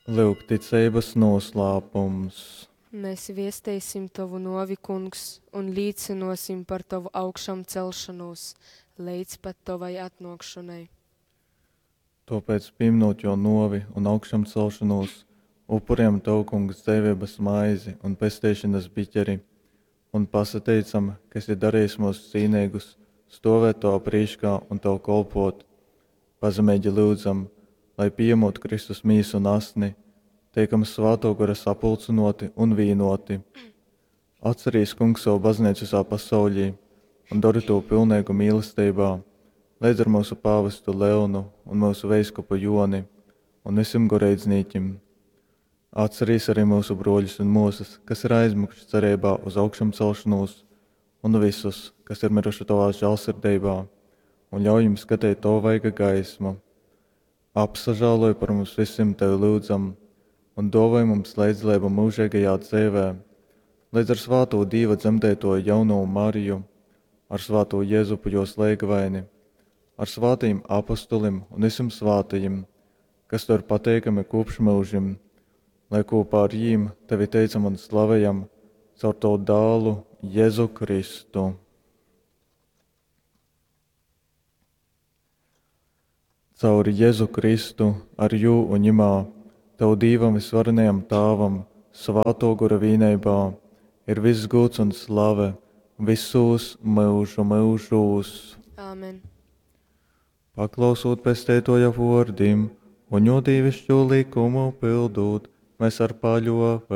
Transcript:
Lyuk ticeibas noslēpums. Mēs viesteisim Tovu nuovi, Kungs, un līcynuosim par Tovu augšamcelšonūs leidz pat Tovai atnuokšonai. Tōpēc, pīminūt Jō nōvi un augšamcelšonūs, upurejam Tev, Kungs, dzeiveibas maizi un pesteišonas biķeri un pasateicam, ka esi darejis myus cīneigus stōvēt Tovā prīškā un Tev kolpōt. Pazemeigi lyudzam, lai, pījamūt Kristus mīsu un asni, teikam Svātō Gora sapulcynōti un vīnōti. Atcerīs, Kungs, sovu bazneicu visā pasauļī un dori tū pilneigu mīlesteibā, leidz ar myusu pāvestu Leonu un myusu veiskupu Joni un vysim goreidznīkim. Atcerīs arī myusu brōļus un mōsas, kas ir aizmiguši cereibā uz augšamcelšonūs, un vysus, kas ir myruši Tovā žālsirdeibā, un ļauj jim skateit Tova vaiga gaismu. Apsažāloj par mums vysim, Tevi lyudzam, un dōvoj mums leidzdaleibu myužeigajā dzeivē, leidz ar svātū Dīva dzemdeitōju jaunovu Mariju, ar svātū Jezupu jōs leigavaini, ar svātajim apostolim un vysim svātajim, kas Tev ir pateikami kopš myužim, lai kopā ar jīm Tevi teicam un slavejam caur Tavu dālu Jezu Kristu. Caur Jezu Kristu, ar jū un Jimā, Tev Dīvam Vysvarenajam Tāvam, Svātō Gora vīneibā, ir viss gūds un slave visūs myužu myužūs. Āmen. Paklausūt Pesteitōja vōrdim un jō dīviškū lykumu pyldūt, mēs ar paļōveibu.